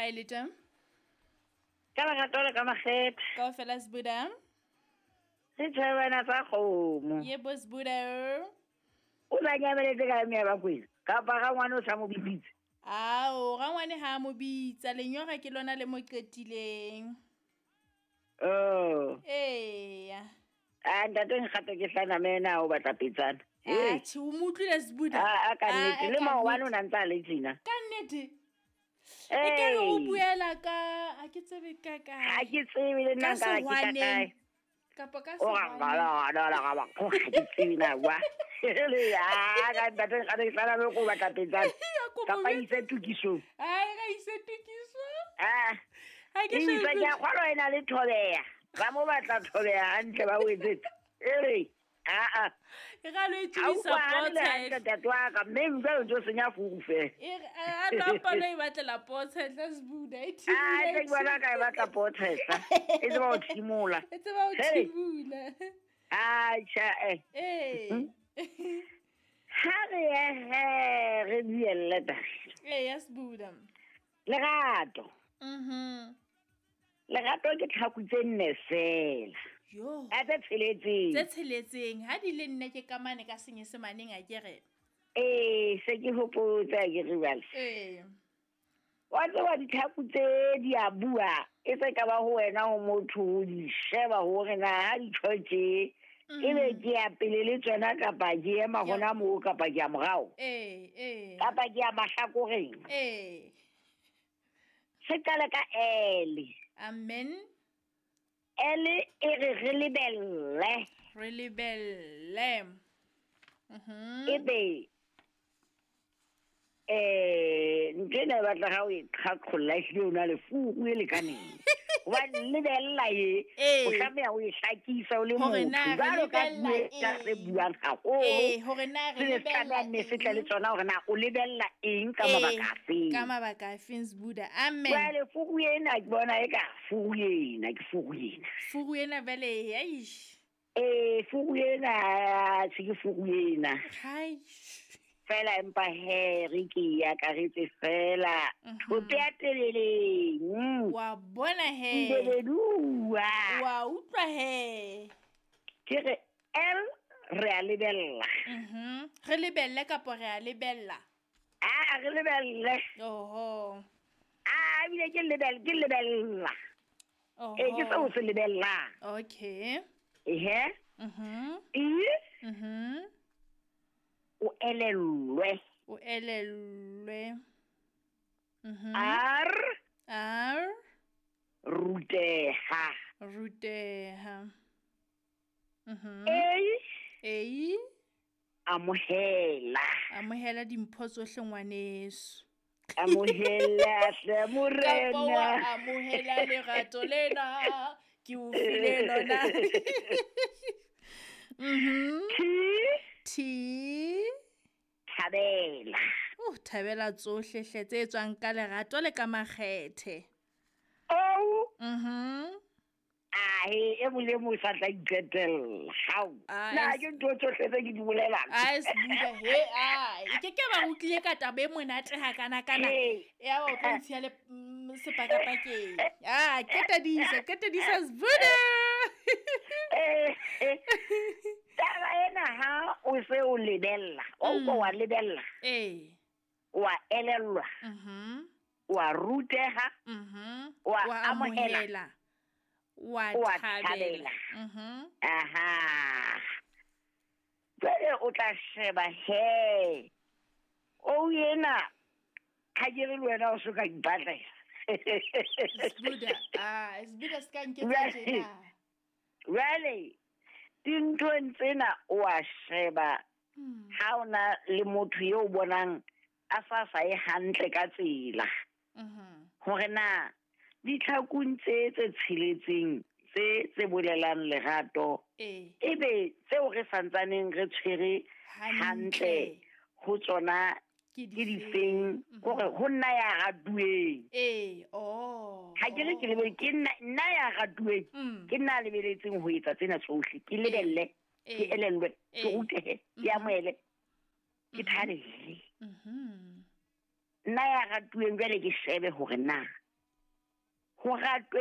kae le teng? Ka lerato le ka makgethe. Kaofela Sbuda. Re tshebana tsa kgomo. Yebo Sbuda. O la nyameletse ka mme ya Bakwena. Kapa ga ngwana o sa mo bitsitse. Ao, rangwane ha mo bitsa, lenyora ke lona le mo qetileng. Oh. Eya. A ntate nkgato ke hlana mena o batla petsana. Atjhe, o mo utlwile Sbuda? A ka nnete le maobane o na ntse a le tjena. Ka nnete. E ke re o buela ka ha ke tsebe ka kae. Ha ke tsebe le nna ka ke ka kae. Kapa ka O sehwaneng. ra ra ra ra ra ha ke tsebe na wa. Le ya ka ntate nkgato ke hlana me ko batla petsana. Kapa ise tukisong. Ai, ga ise tukiso. Ah. Ha ke Ke so itse ke a kgolwa e na le thobeya. Ba mo batla thobeya hantle ba o etsetse. Ere. A a. E ga lo e Ha o tsebisa utlwahale le potshe. hantle ntate wa ka, mme jwale o ntso senya furu feela. E re a no palo e batlela potshe tla Sbuda e Ah, thibile. tse ke bona ka e batla potshe E tseba ho thimola. E tseba ho Hey. thibula. Ah, tjha, eh. Eh. Ha re ye he, re buelle taba. Eh, ya Sbuda. Lerato. Mhm. Lerato ke tlhaku tse nne fela. Yo. A tse tsheletseng. Tse tsheletseng ha di le nne ke kamane ka senyesemaneng a ke re. Eh, se ke hopotse ha ke re jwale. Eh. Wa tseba ditlhaku tse di a bua, e se ka ba ho wena ho motho ho di sheba hore na ha di tjho tje, ebe ke ya pele le tsona kapa ke ema Ke ya- hona moo kapa ke ya morao. Eh, eh. Kapa ke ya mahlakoreng. Eh. Se qale ka L. Amen. L e re re lebelle. Re lebelle. Mhm. Ebe ntho ena e batla ha o e qhaqholla ehlile o na le furu e lekaneng. Hobane lebella e, Ee. o tlameha o e hlakisa o le Hore motho. na re Jwalo ka lebella puo e eng? re buang haholo. Eh, hore na re Se ne se lebella tlameha nne se tle le eng? tsona hore na o lebella eng ka Eh, mabaka afeng. Ka mabaka afeng Sbuda. Amen. Jwale furu ena ke bona eka furu ena, ke furu ena. Furu ena jwale, eish. Eh, furu ena, se ke furu ena. Hai. Fela empa he re ke e akaretse fela. Thope ya teleleng. Wa bona he. Nbeleduwa. Wa utlwa he. Ke re L re a lebella. Mhm. Re lebelle kapa re a lebella? Ah, re lebelle. Oho. Ah, ebile ke lebelle, ke lebella. Oho. Eh, ke seo se lebellang. Okay. Ehe. Mhm. E Mhm. o elellwe. O elellwe. Mhm. R R ruteha. ruteha. Mhm. A A amohela. amohela dimpho tsohle ngwaneso. Amohela hle Kapa wa morena. amohela lerato lena ke o file lona. Mhm. T T thabela. Oh, thabela tsohle hle tse tswang ka lerato le ka makgethe. O Mhm. ahe e mong le mong o sa tla iqetella. Hao. Ah, Na es- ke ntho tsohle tse ke di bolelang. Ai Sbuda he ai ke ke ba utlwile ka taba e monate hakana-kana. Ee. Ya ba o tlo ntshiya le sepakapakeng. Ah, qetedisa, qetedisa Sbuda. Eh, eh. Taba ena ha o se o lebella, o utlwa wa lebella, Eh. wa elellwa, Mhm. wa ruteha, Mhm. Wa Wa amohela. amohela. Wa Wa thabela. thabela. Mhm. Aha. Jwale o tla sheba he. O ena ha ke re le wena o so ka ipatlela. Sbuda, ah, Sbuda se ka nketsa Jwale- tjena. Jwale dinthong tsena o a sheba ha o na le motho eo o bonang a sa sa ye hantle ka tsela. Mhm. Hore na ditlhakung tse tse tsheletseng tse tse bolelang lerato Eh. ebe tseo re santsaneng re tshwere Hantle. hantle ho tsona Ke ke difeng? difeng kore ho nna ya ratuweng. Eh, oh. Ha ke re ke lebele ke nna nna ya ratuweng Mm. ke nna a lebeletseng ho etsa tsena tsohle ke lebelle ke Eh. elellwe ke Eh. rutehe ke amohele ke thabele. Mhm. Nna ya ratuweng jwale ke shebe hore na Ho ratwe.